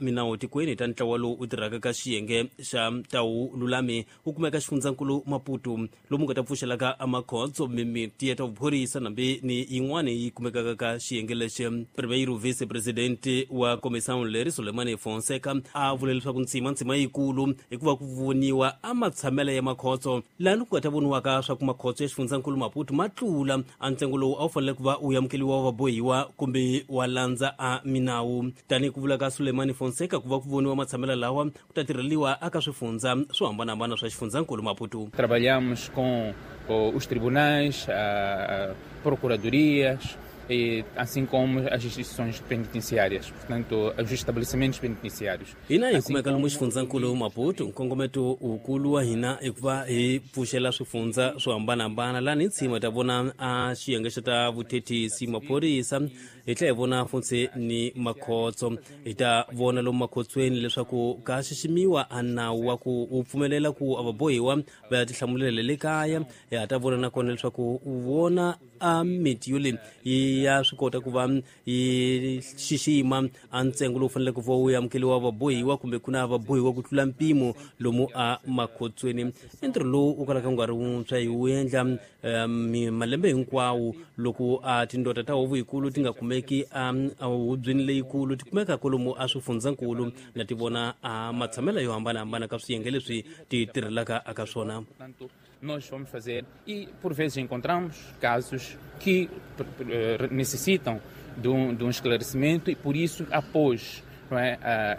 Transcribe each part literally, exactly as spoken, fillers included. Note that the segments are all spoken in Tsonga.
minawu tikweni ta ntlawa lowu wu tirhaka ka xiyenge xa tawu lulami wu kumeka xifundzankulu Maputo lomu nga ta pfuxelaka amakhotso mimiti ya ta vuphorisa nambi ni yin'wani yi kumekaka ka xiyenge lexi. Primeiro vice-presidente wa comissão leri Sulemani Fonseca a vule leswaku ntsima ntsima yikulu hikuva ku voniwa a matshamelo ya makhotso laha ku nga ta voniwaka swa ku makhotso ya xifundzankulu Maputo ma tlula a ntsengo lowu a wu fanele ku va wu amukeliwa wa vabohiwa kumbe wa landza a minawu. Tanihi ku vula ka Sulemani Fonseca ku va ku voniwa matshamelo lawa ku ta tirheliwa aka swifundza swo hambanahambana swa xifundzankulu Maputo. Trabalhamos com os tribunais, a procuradorias, e assim como as instituições penitenciárias, portanto, os estabelecimentos penitenciários. Hina hi kumeka lomu xifundzankulu Maputo, nkongometo wukulu wa hina i ku va hi pfuxela swifundza swo hambanahambana laha ni tshima ta vona a xiyenge xa ta vuthethisi maphorisa hi tlhela hi vona funtse ni makhotso. Hi ta vona lomu makhotsweni leswaku ka xiximiwa a nawu wa ku wu pfumelela ku a vabohiwa va ya tihlamulela le kaya. Hi ha ta vona nakona leswaku u vona a miti yo leyi yi ya swi kota ku va yi xixima a ntsengo lowu faneleke ku va wu amukeliwa vabohiwa kumbe ku na vabohiwa ku tlula mpimo lomu a makhotsweni. I ntirho lowu wu kalaka wu nga ri wuntshwa hi wu endla malembe hinkwawo loko a tindota ta huvo yikulu ti nga kumeki a hubyeni leyikulu ti kumeka kwalomu a swifundzankulu na ti vona a matshamelo yo hambanahambana ka swiyenge leswi ti tirhelaka aka swona. Nós vamos fazer e por vezes encontramos casos que necessitam de um, de um esclarecimento e por isso após, não é,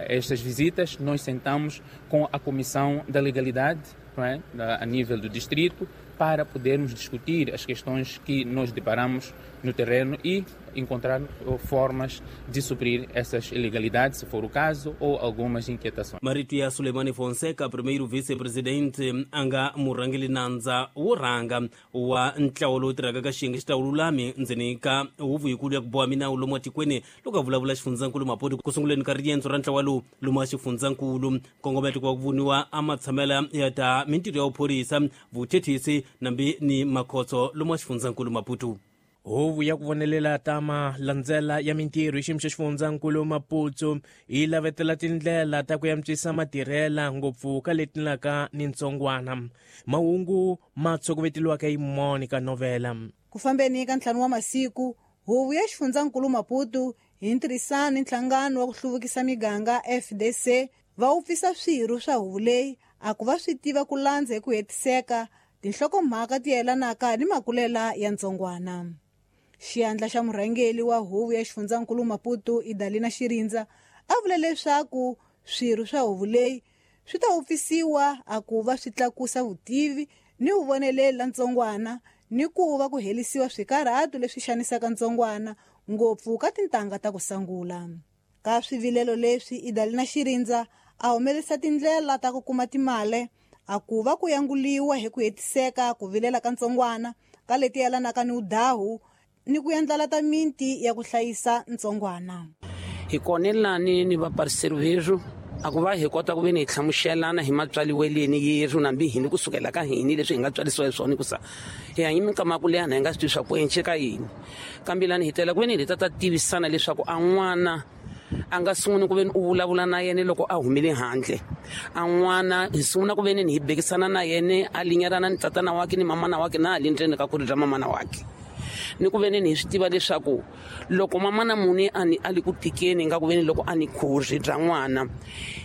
estas visitas nós sentamos com a Comissão da Legalidade, não é, a nível do distrito, para podermos discutir as questões que nós deparamos no terreno e encontrar formas de suprir essas ilegalidades, se for o caso, ou algumas inquietações. Marito ya Sulemani Fonseca, primeiro vice-presidente a nga murhangeli nandza wo rhanga wa ntlawa lowu tirhaka ka xiyenge xa vululami ndzeni ka huvo yikulu ya ku boha minawu lomu atikweni loko a vulavula xifundzankulu Maputo ku sunguleni ka riendzo ra ntlawa lowu lomu a xifundzankulu. Nkongometo ku va ku voniwa a matshamela ya ta mintirho ya vuphorisa vuthethisi nambi ni makhotso lomu a xifundzankulu Maputo. Huvo ya ku vonelela ta malandzela ya mintirho hi xiyimo xa xifundzankulu Maputo yi lavetela tindlela ta ku antswisa matirhela ngopfu ka leti laka ni ntsongwana. Mahungu ma tshokoveteliwaka hi Monica Novela. Ku fambeni ka ntlhanu wa masiku, huvo ya xifundzankulu Maputo hi ntirhisano ni nhlangano wa ku hluvukisa miganga F D C va wupfisa swirho swa huvo leyi a ku va swi tiva ku landza hi ku hetiseka tinhlokomhaka ti yelanaka ni makulela ya ntsongwana. Xiyandla xa murhangeli wa huvo ya xifundzankulu Maputo Idalina Xirindza a vula leswaku swirho swa huvo leyi swi ta wupfisiwa a ku va swi tlakusa vutivi ni vuvoneleri la ntsongwana ni ku va ku helisiwa swikarhato leswi xanisaka ntsongwana ngopfu ka tintangha ta ku sangula. Ka swivilelo leswi Idalina Xirindza a humelerisa tindlela ta ku kuma timali a ku va ku yanguliwa hi ku hetiseka ku vilela ka ntsongwana ka leti yelanaka ni udahu ni ku endlela ta minti ya ku hlayisa ntsongwana. Hi konelani ni vaparceiro vejo a ku va hi kota ku ve ni hi hlamuselana hi matswaliweleni yerhu nambi hini kusukela ka hini leswi hi nga tswarisiwa hi swona hikusa hi hanye minkama ya ku leha na hi nga swi tivi swa ku enceka yini kambe lani hi tela ku ve ni hi ta ta tivisana leswaku a n'wana a nga sunguni ku ve ni u vulavula na yena loko a humile handle a n'wana hi sungula ku ve ni hi bekisana na yena a linyerana ni tatana wakhe ni mamana wakhe na hali ndzeni ka khuri ra mamana wakhe ni ku ve ni hi swi tiva leswaku loko mamana muni a ni a li ku tikeni nga ku ve ni loko a ni khuri bya n'wana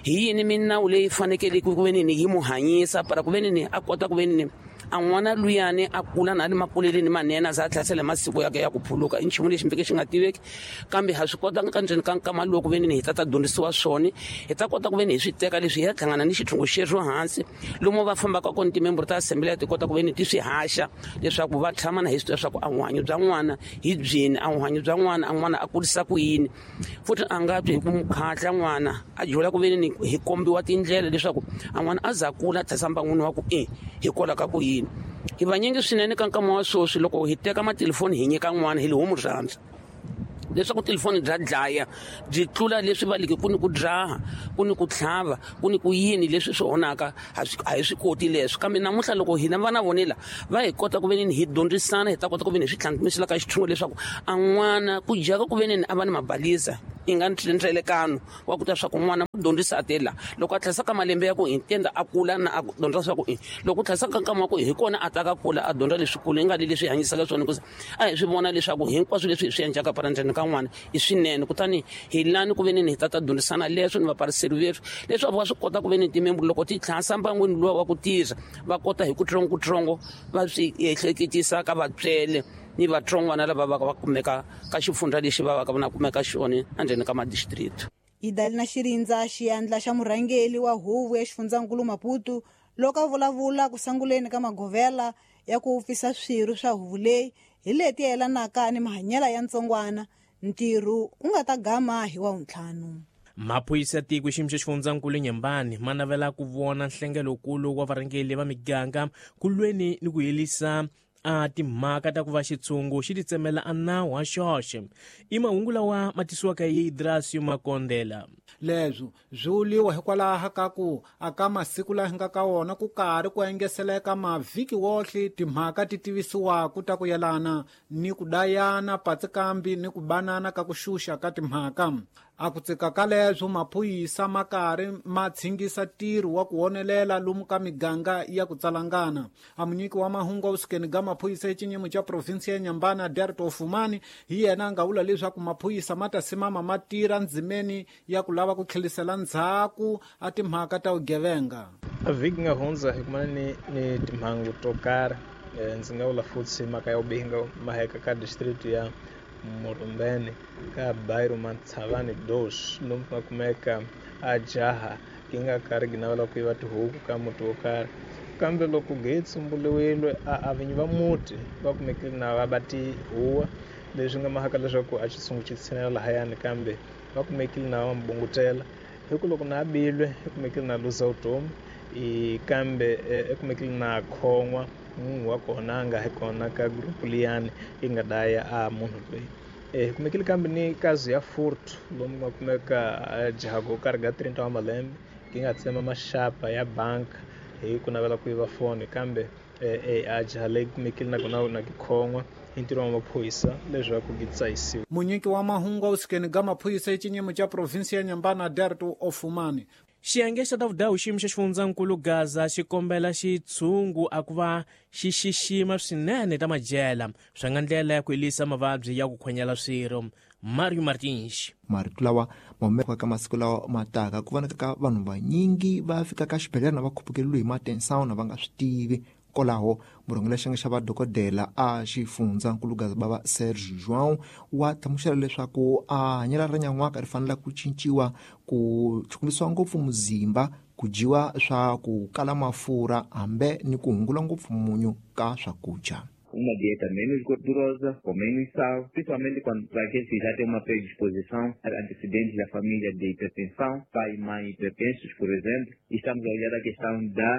hi yini minawu leyi fanekele ku ve ni yi mu hanyisa para ku ve ni a kota ku ve ni a n'wana luyani a kula na ali makuleleni manene a za a tlhasela masiku ya ya ku phuluka i nchumu lexi mbeke xi nga tiveki kambe ha swi kota ka ndzeni ka nkama lowu ku ve ni hi ta ta dyondzisiwa swona hi ta kota ku ve ni hi swi teka leswi hi ya hlangana ni xithungu xerhu hansi lomu va fambaka kona timembro ta assembly ti kota ku ve ni ti swi haxa leswaku va tshama na hi swi tiva leswaku a vuhanyo bya n'wana hi byini a vuhanyo bya n'wana a n'wana a kurisa ku yini futhi a nga twi hi ku mukhatla n'wana a dyula ku ve ni hi kombiwa tindlela leswaku a n'wana a za kula a tlhasa n'wini wa ku e hikwalaho ka ku yini hi vanyingi swinene ka nkama wa sweswi loko hi teka matelefoni hi nyika n'wana hi lihomu rhandza leswaku telefoni bya dlaya byi tlula leswi va leke ku ni ku dzaha ku ni ku tlhava ku ni ku yini leswi swi onhaka a hi swi koti leswi kambe namuntlha loko hina vana vonela va hi kota ku ve ni hi dyondzisana hi ta kota ku ve ni hi swi tlhantlhisela ka xithungo leswaku a n'wana ku jaka ku ve ni a va ni mabalisa i nga ndlelekano wa ku ta swa ku n'wana dyondzisa tela loko a tlhasa ka malembe ya ku intenda a kula na a dyondza swa ku loko tlhasa ka nkama ku hi kona a taka kula a dyondza leswikulu nga leswi hanyisaka swona ku a hi swi vona leswaku hinkwaswo leswi hi swi endlaka parandzeni ka n'wana i swinene kutani hi lani ku veni hi tata dyondzisana leswo ni vapariseri vethu leswaku va swi kota ku veni timembulu loko ti tlhasa mbangwini luwa wa ku tirha va kota hi kutsongokutsongo va swi ehleketisa ka vatswele ni vatsongwana lava va va kumeka ka xifundza lexi va va ka va kumeka xona endzeni ka madistrict. Idalina Xirindza xiyandla xa murhangeli wa huvo ya xifundzankulu Maputo loko a vulavula ku sanguleni ka magovela ya ku pfisa swirho swa huvo leyi hi leti yelanaka ni mahanyelo ya ntsongwana ntirho wu nga ta gama hi wa ntlhanu. Maphorisa ya tiko xiyimo xa xifundzankulu Nyembani ma navela ku vona nhlengelokulu wa varhangeli va miganga ku lweni ni ku herisa a timhaka ta ku va xitshungu xi titsemela a nawu wa xoxe. I mahungu lawa ma tisiwaka hi Idrasio Makondela. Leswo swi vuliwa hikwalaho ka ku aka masiku laha hi nga ka wona ku karhi ku engeseleka mavhiki wohle timhaka ti tivisiwaku ta ku yelana ni ku dayana patsikambi ni ku banana ka ku xuxa ka timhaka. A ku tsika ka leswo maphorisa ma karhi ma tshingisa ntirho wa ku wonelela lomu ka miganga ya ku tsalangana. A munyiki wa mahungu evusukeni ga maphorisa exinyimo xa provinsi ya Nyambani Aderto Fumani hi yena a nga vula leswaku maphorisa ma ta simama ma tirha ndzimeni ya ku lava ku tlhelisela ndzhaku a timhaka ta vugevenga. A vhiki nga hundza hi kumana ni ni timhangu to karhi ndzi nga vula futhi mhaka ya vubihi maheka ka district ya Murumbeni ka bairro Matshavani dos lomu ku nga kumeka a jaha yi nga karhi yi navela ku yiva tihuku ka muti wo karhi kambe loko ge tsumburiwile a vinyi va muti va kumekile na va ba tihuwa leswi nga mahaka leswaku a xitshungu xi tshinela lahayani kambe va kumekile na va mbungutela hi ku loko na bilwe i kumekile na luza vutomi i kambe i kumekile na khon'wa munhu wa kona a nga hi kona ka group liyani yi nga daya a munhu loyi. Hi kumekile kambe ni kazi ya furtu lomu nga kumeka jaha go karhi ga trenta wa malembe yi nga tsema maxapa ya bank hi ku navela ku yiva foni kambe a jaha leyi kumekile na kona na khon'wa hi ntirho wa maphorisa leswaku yi tsayisiwa. Munyiki wa mahungu evusukeni ga maphorisa exinyimo xa provinsi ya Nyambani Aderto Ofumani. Xiyenge xa ta vudawu xiyimo xa xifundzankulu Gaza xi kombela xitshungu a ku va xi xixima swinene ta madyela swa nga ndlela ya ku herisa mavabyi ya ku khwanyela swirho. Mario Martins. Marito lawa ma humeka ka masiku lawa ma taka ku vonaka ka vanhu vanyingi va fika ka xibedhlele na va khupukeliwe hi matensawuna va nga swi tivi. Kwalaho murhangeri xiyenge xa vadokodela a xifundzankulu Gaza bava Serge João wa hlamusela leswaku a hanyelo ra nyan'waka ri fanele ku cinciwa ku chukumisiwa ngopfu muzimba ku dyiwa swa ku kala mafurha hambe ni ku hungula ngopfu munyu ka swakudya. Uma dieta menos gordurosa, com menos sal, principalmente quando para aqueles que já têm uma predisposição a antecedentes da família de hipertensão, pai e mãe hipertensos, por exemplo. Estamos a olhar a questão da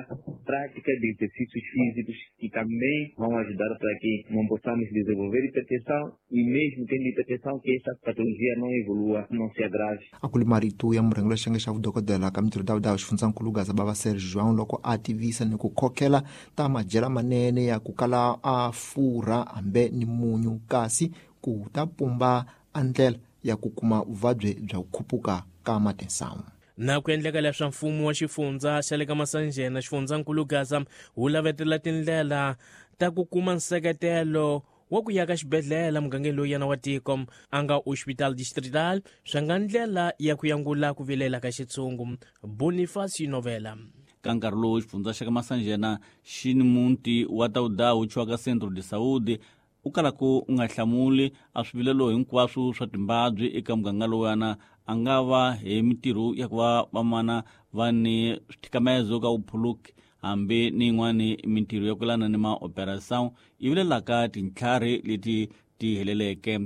prática de exercícios físicos que também vão ajudar para que não possamos desenvolver hipertensão e mesmo tendo hipertensão que essa patologia não evolua, não se agrave. A ku ri marito ya murhangeri xiyenge xa vudokodela ka mintirho ta xifundzankulu Gaza bava Serge João loko a tivisa ni ku khokhela ta madyela manene ya ku kala a furha hambe ni munyu kasi ku ta pumba a ndlela ya ku kuma vuvabyi bya ku khupuka ka matinsamu. Na ku endleka leswa mfumo wa xifundza xa le ka Masanjena xifundzankulu Gaza wu lavetela tindlela ta ku kuma nseketelo wa ku ya ka xibedhlele mugangeni lowu yena wa tiko a nga hospital distrital swa nga ndlela ya ku yangula ku vilela ka xitshungu. Bonifacio Novela. Ka nkarhi lowu xifundza xa ka Masanjena xi ni muti wa Tawudawu chiwaka Centro de Saúde u kalaka u nga hlamuli a swivilelo hinkwaswo swa timbabyi eka muganga lowuyana a nga va hi mintirho ya ku va vamana va ni swithikamezo ka vuphuluki hambi ni yin'wani mintirho ya ku yelana ni maoperação yi vilelaka tintlhari leti ti heleleke.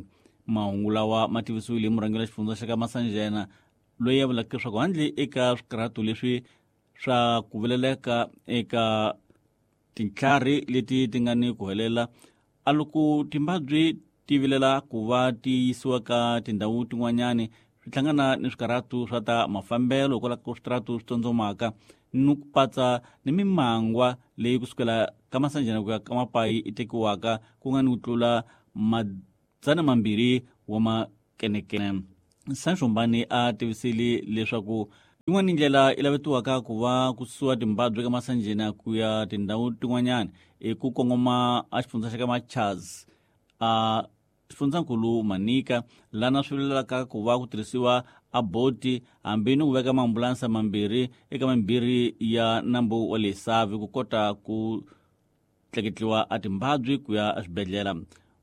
Mahungu lawa ma tivisiwile hi murhangeri wa xifundza xa ka Masanjena loyi a vulaka leswaku handle eka swikarhato leswi swa ku vileleka eka tintlhari leti ti nga ni ku helela a loko timbabyi ti vilela ku va ti yisiwa ka tindhawu tin'wanyani swi hlangana ni swikarhato swa ta mafambelo hikwalaho ka switaratu swi tsondzomaka ni ku patsa ni mimangwa leyi kusukela ka Masanjena ku ya ka Mapayi i tekiwaka ku nga ni ku tlula madzana mambirhi wa makenekene. Sancho Mbani a tivisile leswaku Yin'wana ndlela i lavetiwaka ku va ku susiwa timbabyi eka Masanjena ku ya tindhawu tin'wanyana i ku kongoma a xifundza xa ka Machaz a xifundzankulu Manika lana swi vilelaka ku va ku tirhisiwa a boti hambi ni ku veka maambulansa mambirhi eka mambirhi ya nambu wa le Savi ku kota ku tleketliwa a timbabyi ku ya eswibedhlele.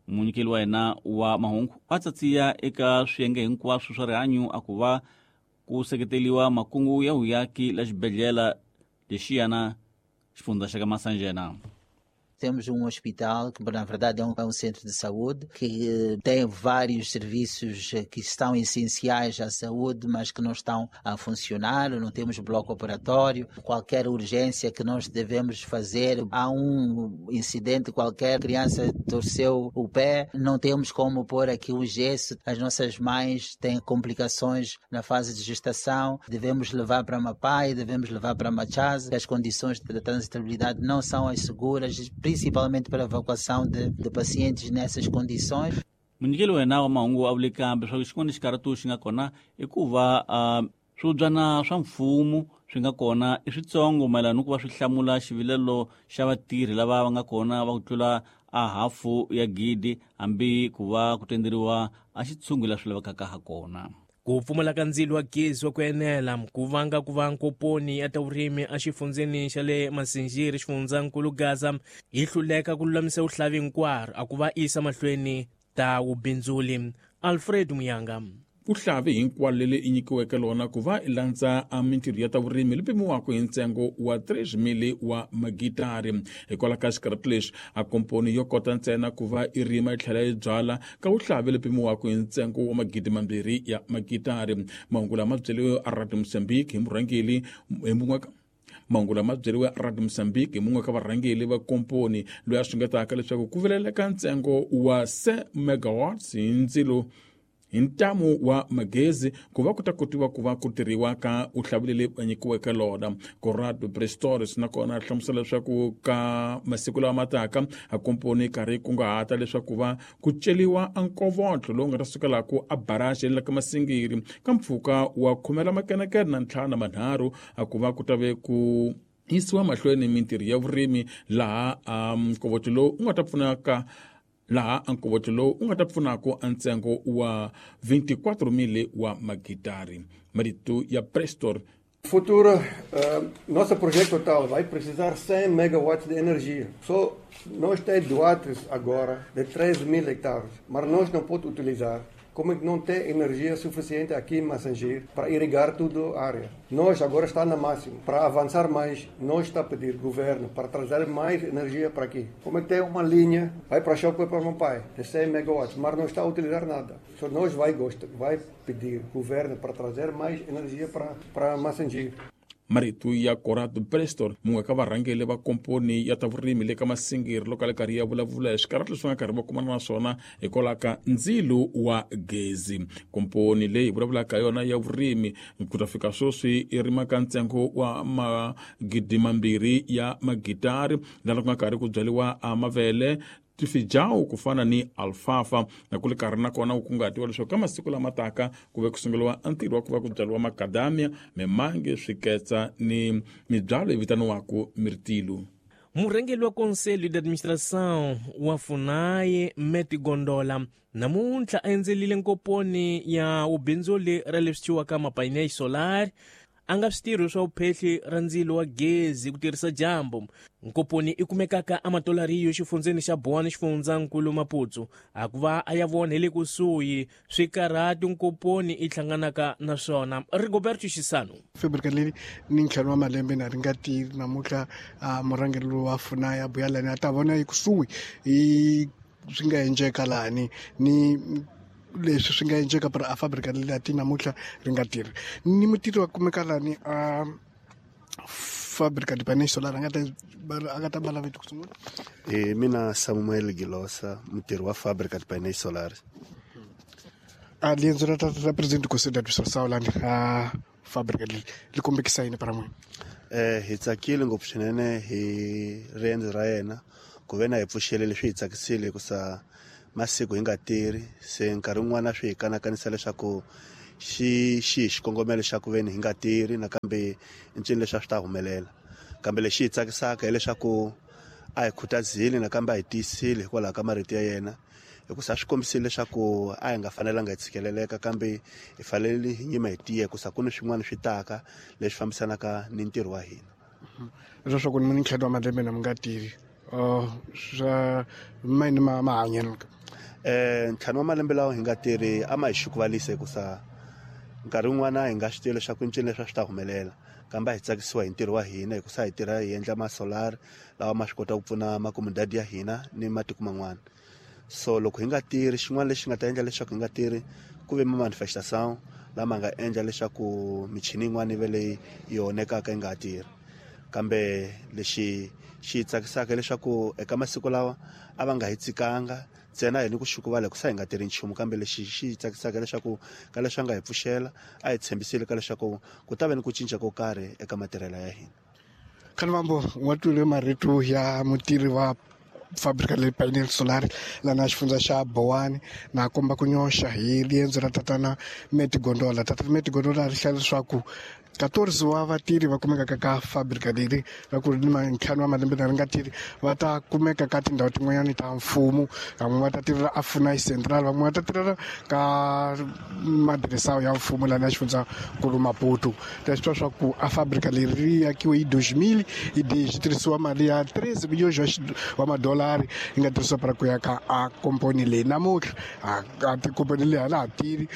Munyikeli wa yena wa mahungu a tsatsiya eka swiyenge hinkwaswo swa rihanyo a ku va ku seketeliwa makungu ya vuyaki la xibedhlele lexiyana xifundza xa ka Masanjena. Temos um hospital que, na verdade, é um, é um centro de saúde, que tem vários serviços que estão essenciais à saúde, mas que não estão a funcionar. Não temos bloco operatório. Qualquer urgência que nós devemos fazer, há um incidente qualquer, criança torceu o pé, não temos como pôr aqui o gesso. As nossas mães têm complicações na fase de gestação, devemos levar para Mapai, devemos levar para Machaz. As condições de transitabilidade não são as seguras, principalmente para a evacuação de, de pacientes nessas condições. Munyikeli wa yena wa mahungu a vule kambe swa xin'wana xikarhatu xi nga kona i ku va swibyana swa mfumo swi nga kona i switsongo mayelana ni ku va swi hlamula xivilelo xa vatirhi lava va nga kona va ku tlula a hafu ya gidi hambi ku va ku tenderiwa a xitshungu la swi lavekaka ha kona. Ku pfumala ka ndzilo wa gezi wa ku enela ku vanga ku va nkoponi ya ta vurimi exifundzeni xa le Masinjiri xifundzankulu Gaza yi hluleka ku lulamisa vuhlavi hinkwaro a ku va isa mahlweni ta vubindzuli. Alfred Muyanga. Vuhlavi hinkwalo leri i nyikiweke lona ku va i landza a mintirho ya ta vurimi li pimiwaka hi ntsengo wa three mili wa magitari. Hikwalaho ka xikarhati lexi a komponi yo kota ntsena ku va i rima yi tlhela yi byala ka vuhlavi li pimiwaka hi ntsengo wa magidi mambirhi ya magitari. Mahungu lama byeriwe a Radio Mozambique hi murhangeri hi mun'we mahungu lama byeriwe Radio Mozambique hi mun'we ka varhangeri va komponi loyi a xungetaka leswaku ku vileleka ntsengo wa se megawatts hi ndzilo hi ntamu wa magezi ku va ku ta kotiwa ku va ku tirhiwa ka uhlavi leri va nyikiweke lona. Corrado Prestores nakona a hlamusela leswaku ka masiku lawa mataka a komponi karhi kunguhata leswaku va ku celiwa a nkovotlo lowu nga ta sukelaku a baraji la ka Masingiri ka mpfhuka wa khumela makenekene na ntlhanu na manharhu a ku va ku ta ve ku yisiwa mahlweni mintirho ya vurimi laha a nkovotlo lowu u nga ta pfunaka laha nkovotlo lowu u nga ta pfunaka a ntsengo wa vinte e quatro mil wa magitari. Marito ya Prestor. Futuro, uh, nosso projeto total vai precisar cem megawatts de energia. Só nós temos doados agora de três mil hectares, mas nós não podemos utilizar. Como é que não tem energia suficiente aqui em Massangir para irrigar toda a área? Nós agora está na máxima. Para avançar mais, nós está a pedir governo para trazer mais energia para aqui. Como é que tem uma linha, vai para Chokwe para Mapai, de cem megawatts, mas não está a utilizar nada. Só nós vai gostar, vai pedir governo para trazer mais energia para, para Massangir. Marito ya Corrado Prestor mun'we ka varhangeri va komponi ya ta vurimi le ka Masingiri loko a le karhi ya vulavula hi swikarhati leswi nga karhi va kumana na swona hikwalaho ka ndzilo wa gezi. Komponi leyi vulavulaka yona ya vurimi ku ta fika sweswi i rima ka ntsengo wa magidi mambirhi ya magitari laha ku nga karhi ku byariwa a mavele tifijawu ku fana ni alfalfa na ku le karhi nakona ku kungatiwa leswaku ka masiku lama taka ku ve ku sunguriwa ntirho wa ku va ku byariwa makadamia mimange swiketsa ni mibyalo yi vitaniwaka mirtilu. Murhangeri wa Conselho de Administração wa FUNAI Meti Gondola namuntlha a endzelile nkoponi ya vubindzuli ra leswi thyiwaka mapainéis solar a nga switirho swa vuphehli ra ndzilo wa gezi ku tirhisa dyambu. Nkoponi i kumekaka eMatolariyo xifundzeni xa Boane xifundzankulu Maputo a ku va a ya vona hi le kusuhi swikarhati nkoponi i hlanganaka na swona. Rigoberto Xisano. Fábrica leyi ni ntlhanu wa malembe na ri nga tirhi namuntlha murhangeri lowu wa FUNAI a buya lani a ta vona ekusuhi hi swi nga endleka lani ni leswi swi nga endleka para a fábrica leyi a ti namuntlha ri nga tirhi ni mutirhi wa kumeka lani a fábrica de painéis solar a nga ta a nga ta bala vito ku sungula. E mina Samuel Gilosa, mutirhi wa fábrica de painéis solar. A riendzo ra ra presidente Conselho de Administração lani a fábrica leyi li kombekisa yini para n'wina? Eh hi tsakile ngopfu swinene hi riendzo ra yena ku ve na hi pfuxele leswi hi tsakisile ku sa masiku hi nga tirhi se nkarhi wun'wana swi hi kanakanisa leswaku xi xi xikongomelo xa ku veni hi nga tirhi nakambe ncini leswi a swi ta humelela. Kambe lexi hi tsakisaka hileswaku a hi khutazile nakambe a hi tiyisile hikwalaho ka marito ya yena, hikusa swi kombisile leswaku a hi nga fanelanga hi tshikeleleka, kambe hi fanele hi nyima hi tiya hikusa ku ni swin'wana swi taka leswi fambisanaka ni ntirho wa hina. Leswaku ni ntlhanu wa malembe na mi nga tirhi swa mani ma mahanyelo eh ntlhanu wa malembe lawa hi nga tirhi a ma hi xukuvalisa hikusa nkarhi wun'wana hi nga swi tivi leswaku ncini leswi a swi ta humelela, kambe a hi tsakisiwa hi ntirho wa hina hikusa hi tirha hi endla ma-solar lawa ma swi kota ku pfuna makomodadi ya hina ni matiko man'wana. So loko hi nga tirhi, xin'wana lexi nga ta endla leswaku hi nga tirhi ku ve ma-manifestation lama nga endla leswaku michini yin'wana yi ve leyi yi onhekaka yi nga ha tirhi. Kambe lexi xi tsakisaka leswaku eka masiku lawa a va nga hi tsikanga ntsena hi ni ku xukuvala hikusa hi nga tirhi nchumu, kambe lexi xi tsakisaka leswaku ka leswi a nga hi pfuxela a hi tshembisile ka leswaku ku ta va ni ku cinca ko karhi eka matirhelo ya hina. Khanvambo wa twile marito ya mutirhi wa fábrica leyi panel solar lana xifundza xa Bowani na komba ku nyoxa hi riendzo ra tatana Meti Gondola. Tatana Meti Gondola ri hlaya leswaku quatorze wa vatirhi va kumekaka ka fábrica leri va ku ri ni ntlhanu wa malembe na ri nga tirhi va ta kumeka ka tindhawu tin'wanyani ta mfumo, van'we va ta tirhela a Funai Central, van'we va ta tirhela ka madiresa ya mfumo lana xifundzankulu Maputo. Leswi twa swa ku a fábrica leri ri akiwe hi dois mil e dez, yi tirhisiwa mali ya treze milhões wa madolari yi nga tirhisiwa para ku ya ka a komponi leyi. Namuntlha a tikomponi leyi a la ha tirhi.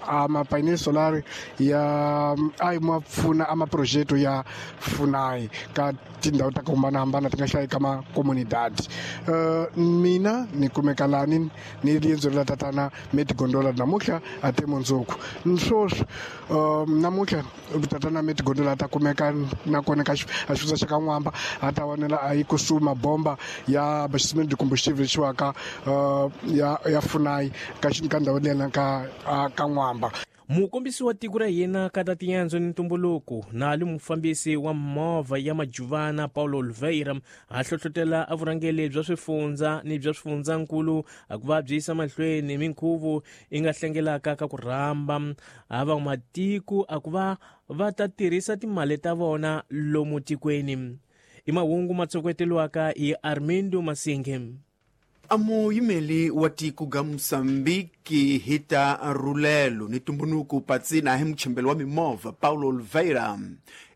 A mapainel solar ya a ma pfuna a maprojeto ya Funai ka tindhawu ta ku hambanahambana ti nga hlayi ka makomunidadi. Uh, mina ni kumeka lani ni riendzo ra tatana Meti Gondola namuntlha a te mundzuku. Swoswi uh, namuntlha tatana Meti Gondola ta kumeka nakona ka a xifundza xa ka N'wamba a ta vonela a yi kusuhi mabomba ya abastecimento de combustível lexiwaka uh, ya ya Funai ka ka ndhawu leyi ka ka N'wamba. Mukombisi wa tiko ra hina ka ta tiendzo ni ntumbuluko na li mufambisi wa movha ya Majuvana Paulo Oliveira a hlohlotela a vurhangeri bya swifundza ni bya swifundzankulu a ku va byi yisa mahlweni minkhuvo yi nga hlengelaka ka ku rhamba a vamatiko a ku va va ta tirhisa timali ta vona lomu tikweni. I mahungu ma tsokoteliwaka hi Armindo Masinge. A muyimeli wa tiko ga Mosambiki hita rulelo ni tumbunuku patsina hi muchembelo wa mimovha Paulo Oliveira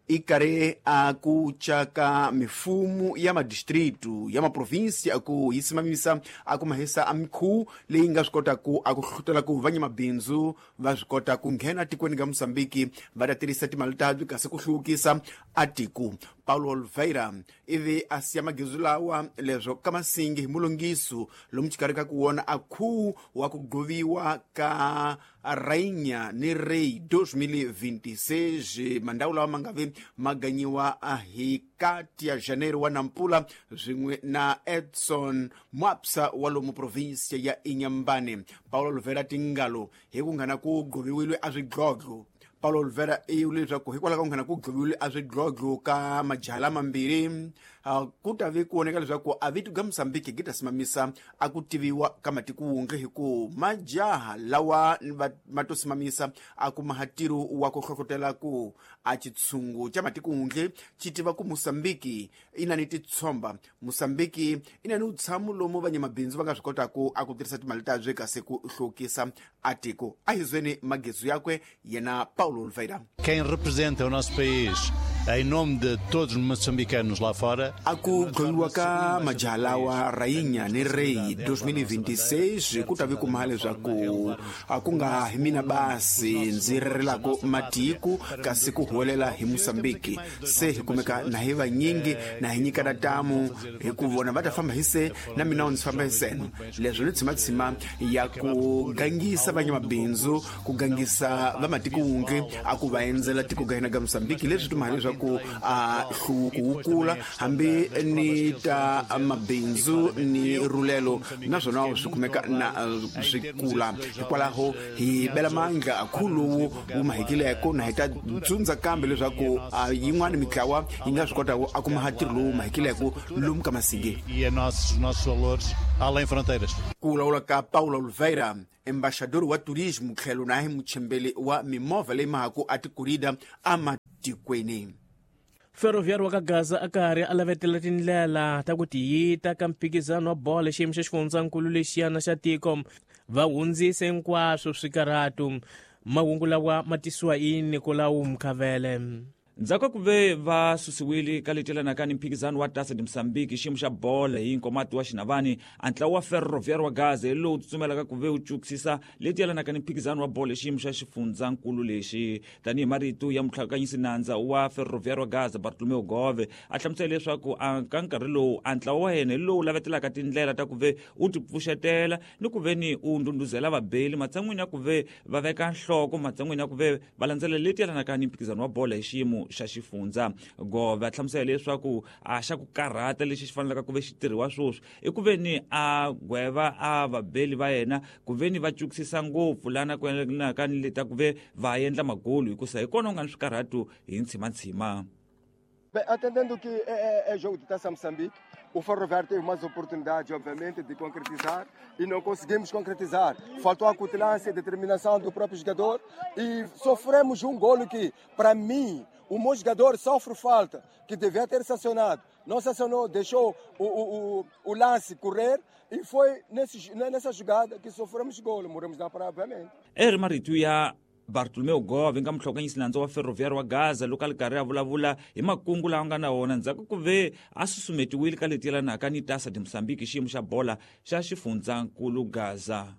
i karhi a ku caka mifumo ya madistritu ya maprovinsi a ku yi simamisa a ku mahisa a mikhuwu leyi nga swi kotaku a ku hlutela ku vanyamabindzu va swi kota ku nghena tikweni ga Mosambiki va ta tirhisa timali tabyi kasi ku hluvukisa a tiko. Paulo Oliveira ivi a siya magizu lawa leswo ka masingi hi mulungiso lomu xikarhi ka ku wona a khuwu wa ku gqoviwa ka Rainha ni Rei dois mil e vinte e seis, mandawu lawa ma nga vi ma ganyiwa hi kati ya Janeiro wa Nampula swin'we na Edson Mwapsa wa lomu provinsia ya Inhambane. Paulo Oliveira tingalo hi ku nghana ku gqoviwile a swidlodlo. Paulo Oliveira i vule leswaku hikwalaho ka ku nghena ku gqoviwile a swidlodlo ka majaha lamambirhi ku ta vi ku voneka leswaku a vito ga Mosambiki gi ta simamisa a ku tiviwa ka matiko wunge hi ku majaha lawa ma to simamisa a ku mahatiro wa ku hlohlotela ku a xitshungu xa matiko wunge xi tiva ku Mosambiki i na ni titshomba, Mosambiki i na ni vutshamo lomu vanyamabindzu va nga swi kotaku a ku tirhisa timali tabye kasi ku hluvukisa a tiko. A hi zweni magezu yakwe yena Paulo Oliveira. Quem representa o nosso país em nome de todos os moçambicanos lá fora. A ku gqoviwa ka majaha lawa Rainha ni Rei dois mil e vinte e seis ku ta vi kuma leswaku a ku nga hi mina basi ndzi rirelako matiko kasi ku huwelela hi Mosambiki se hi kumeka na hi vanyingi na hi nyikana tamu hi ku vona va ta famba hi se na mina ndzi famba hi seno. Leswo ni tshimatshima ya ku gangisa vanyamabindzu ku gangisa va matiko wunge a ku va endzela tiko ga hina ga Mosambiki leswi tuma leswaku leswaku a hluvuko wu kula hambi ni ta mabindzu ni rulelo naswona swi kumeka na swi kula. Hikwalaho hi bela mandla akhulu wu mahekileko na hi ta dzundza kambe leswaku yin'wana mitlawa yi nga swi kota a kuma ntirho lowu mahekileko lomu ka Massingue. E a nossos, nossos valores além fronteiras. Ku vulavula ka Paulo Oliveira, embaixador wa turismo tlhelo na hi muchembeli wa mimovha leyi mahaku a tikurida amatikweni. Ferroviário wa ka Gaza a karhi a lavetela tindlela ta ku tiyita ka mphikizano wa bolo xiyimo xa xifundzankulu lexiyana xa tiko va hundzise hinkwaswo swikarhatu. Mahungu lawa ma tisiwa hi Nicolau Mkhavele. Ndzhaku ku ve va susiwile ka leti yelanaka ni mphikizano wa Taça de Moçambique xiyimo xa bolo hi nkomati wa Xinavani, a ntlawa wa Ferroviário wa Gaza hi lowu tsutsumelaka ku ve wu cukisisa leti yelanaka ni mphikizano wa bolo hi xiyimo xa xifundzankulu lexi. Tanihi marito ya mutlhakanyisi nandza wa Ferroviário wa Gaza Bartolomeu Gove a hlamusela leswaku a ka nkarhi lowu a ntlawa wa yena hi lowu lavetelaka tindlela ta ku ve u tipfuxetela ni ku ve ni u ndhundhuzela vabeli matsan'wini ya ku ve va veka nhloko matsan'wini ya ku ve va landzelela leti yelanaka ni mphikizano wa bolo hi xiyimo xa xifundza. Gove a hlamusela leswaku a xa ku karhata lexi xi fanelaka ku ve xi tirhiwa sweswi i ku ve ni a gweva a vabeli va yena ku ve ni va cukisisa ngopfu lana ku yelanaka ni leta ku ve va endla magolu hikusa hi kona u nga ni swikarhatu hi ntshimantshima. Bem, atendendo que é, é, é jogo de Taça Moçambique, o Ferroviário teve mais oportunidade, obviamente, de concretizar e não conseguimos concretizar. Faltou a cutilância e determinação do próprio jogador e sofremos um golo que, para mim, o meu jogador sofre falta, que devia ter sancionado. Não sancionou, deixou o, o, o, o lance correr e foi nesse, nessa jogada que sofremos golo. Morremos na praia, obviamente. Eri marito ya Bartolomeu Gove nga muhlokanyisi nandza wa Ferroviário wa Gaza loko a li karhi a vulavula hi makungu lawa nga na wona ndzhaku ku ve a susumetiwile ka leti yelanaka ni Taça de Moçambique xiyimo xa bola xa xifundzankulu Gaza.